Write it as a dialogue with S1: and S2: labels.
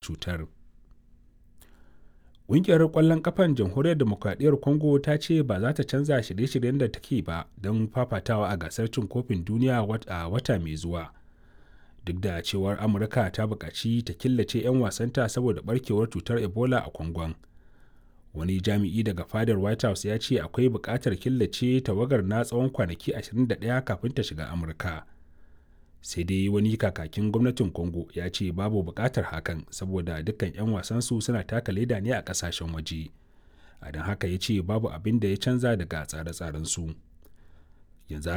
S1: cutar. Ƙungiyar ƙwallon ƙafan Jamhuriyar Dimokuraɗiyyar Congo ta ce ba za ta canza shirye-shiryen da take ba don fafatawa a gasar cin kofin duniya a wata mai zuwa. Duk da cewar Amurka ta buƙaci ta killace 'yan wasanta saboda barkewar cutar Ebola a Congon. Wani jami'i daga fadar White House ya ce akwai buƙatar killace tawagar na tsawon kwanaki 21 kafin ta shiga Amurka. Sai dai wani kakakin gwamnatin Congo ya ce babu buƙatar hakan saboda dukkan 'yan wasansu suna taka leda ne a ƙasashen waje. A don haka ya ce babu abin da ya canza daga tsare-tsarensu. Yanzu